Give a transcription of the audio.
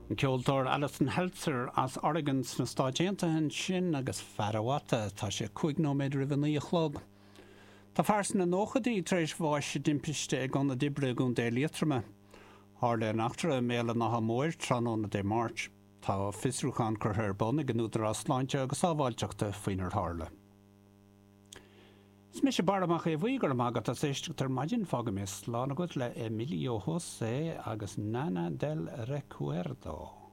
An ceoltóir Alison Heltzer as Oregon sna Stáit Aontaithe ansin agus Fadawata. Tá sé 5 nóiméad roimh a 9 a chlog. Tá fear sna nóchaidí tar éis bháis i dtimpiste ag ionad oibre i gContae Liatroma. Tharla an eachtra i mBéal an Átha Móir tráthnóna Dé Máirt. Tá fiosrúchán curtha ar bun ag an Údarás Sláinte agus Sábháilteachta faoinar tharla. Is mise Barra Mac Aodha Bhuí, go raibh maith agat as éisteacht ar maidin. Fágfaidh mé slán agat le Emilio José agus Nana del Recuerdo.